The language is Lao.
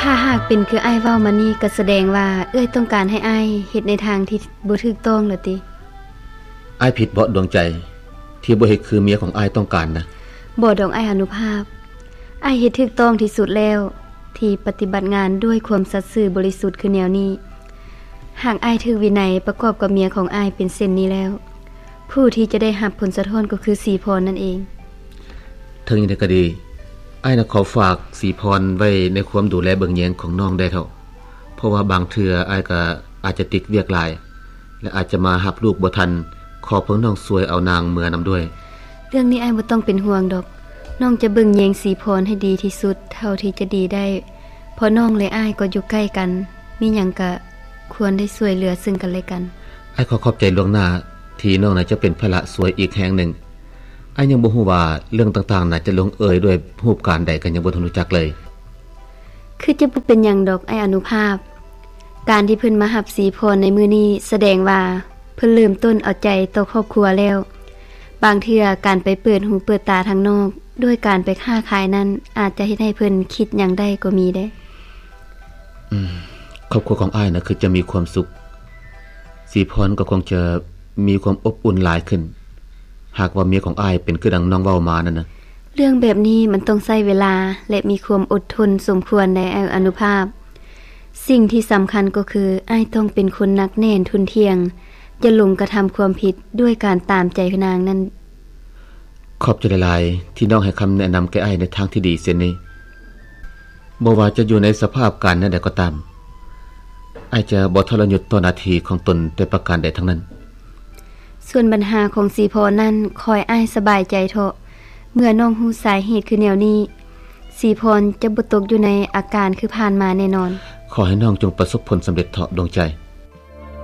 ຖ້າຫາກເປັນຄືອ້າຍເວົ້າມານີ້ ກໍສະແດງວ່າເອື້ອຍຕ້ອງການໃຫ້ອ້າຍເຮັດໃນທາງທີ່ບໍ່ຖືກຕ້ອງລະຕິ? ອ້າຍຜິດເບາະດວງໃຈ ທີ່ບໍ່ເຮັດຄືເມຍຂອງອ້າຍຕ້ອງການນະ? ບໍ່ດອກອ້າຍອະນຸພາບ, ອ້າຍເຮັດຖືກຕ້ອງທີ່ສຸດແລ້ວ ທີ່ປະຕິບັດງານດ້ວຍຄວາມສັດຊື່ບໍລິສຸດຄືແນວນີ້. ຫາກອ້າຍຖືກວິໄນປະກອບກັບເມຍຂອງອ້າຍເປັນເຊັ່ນນີ້ແລ້ວ, ຜູ້ທີ່ຈະໄດ້ຮັບຜົນສະທ້ອນກໍຄືສີພອນນັ້ນເອງ. ເຖິງຢ່າງໃດກໍດີ, ອ້າຍນະຂໍຝາກສີພອນໄວ້ໃນຄວາມດູແລເບິ່ງແຍງຂອງນ້ອງແດ່ເຖາະ, ເພາະວ່າບາງເທື່ອອ້າຍກໍອາດຈະຕິດວຽກຫຼາຍ ແລະ ອາດຈະມາຮັບລູກບໍ່ທັນ, ຂໍພວກນ້ອງຊ່ວຍເອົານາງເມືອນຳດ້ວຍ. ເລື່ອງນີ້ອ້າຍບໍ່ຕ້ອງເປັນຫ່ວງດອກ, ນ້ອງຈະເບິ່ງແຍງສີພອນໃຫ້ດີທີ່ສຸດເທົ່າທີ່ຈະດີໄດ້, ເພາະນ້ອງ ແລະ ອ້າຍກໍຢູ່ໃກ້ກັນ, ມີຫຍັງກະຄວນໄດ້ຊ່ວຍເຫຼືອເຊິ່ງກັນແລະກັນ. ອ້າຍຂໍຂອບໃຈລ່ວງໜ້າ ທີ່ນ້ອງນະຈະເປັນພາລະຊ່ວຍອີກແຮງໜຶ່ງ. ອ້າຍຍັງບໍ່ຮູ້ວ່າເລື່ອງຕ່າງໆນະຈະລົງເອີຍດ້ວຍຮູບການໃດ ກໍຍັງບໍ່ທັນຮູ້ຈັກເລີຍ. ຄືຈະບໍ່ເປັນຫຍັງດອກອ້າຍອະນຸພາບ. ການທີ່ເພິ່ນມາຮັບສີພອນໃນມື້ນີ້ ສະແດງວ່າເພິ່ນເລີ່ມຕົ້ນເອົາໃຈຕໍ່ຄອບຄົວແລ້ວ. ບາງເທື່ອການໄປເປີດຫູເປີດຕາທາງນອກ ດ້ວຍການໄປຄ້າຂາຍນັ້ນ ອາດຈະເຮັດໃຫ້ເພິ່ນຄິດຫຍັງໄດ້ກໍມີເດ້. ອືມ, ຄອບຄົວຂອງອ້າຍນະຄືຈະມີຄວາມສຸກ, ສີພອນກໍຄົງຈະມີຄວາມອົບອຸ່ນຫຼາຍຂຶ້ນ, ຫາກວ່າເມຍຂອງອ້າຍເປັນຄືດັ່ງນ້ອງເວົ້າມານັ້ນນະ. ເລື່ອງແບບນີ້ມັນຕ້ອງໃຊ້ເວລາ ແລະ ມີຄວາມອົດທົນສົມຄວນໃດອ້າຍອະນຸພາບ. ສິ່ງທີ່ສຳຄັນກໍຄື ອ້າຍຕ້ອງເປັນຄົນໜັກແໜ້ນທຸ່ນທ່ຽງ, ຢ່າຫຼົງກະທຳຄວາມຜິດດ້ວຍການຕາມໃຈນາງນັ້ນ. ຂອບໃຈຫຼາຍໆ ທີ່ນ້ອງໃຫ້ຄຳແນະນຳແກ່ອ້າຍໃນທາງທີ່ດີເຊັ່ນນີ້. ບໍ່ວ່າຈະຢູ່ໃນສະພາບການແນວໃດກໍຕາມ, ອ້າຍຈະບໍ່ທໍລະຍົດຕໍ່ໜ້າທີ່ຂອງຕົນແຕ່ປະການໃດທັງນັ້ນ. ສ່ວນບັນຫາຂອງສີພອນນັ້ນ ຂໍໃຫ້ອ້າຍສະບາຍໃຈເຖາະ. ເມື່ອນ້ອງຮູ້ສາເຫດຄືແນວນີ້, ສີພອນຈະບໍ່ຕົກຢູ່ໃນອາການຄືຜ່ານມາແນ່ນອນ. ຂໍໃຫ້ນ້ອງຈົ່ງປະສົບຜົນສຳເລັດເຖາະ ດວງໃຈ.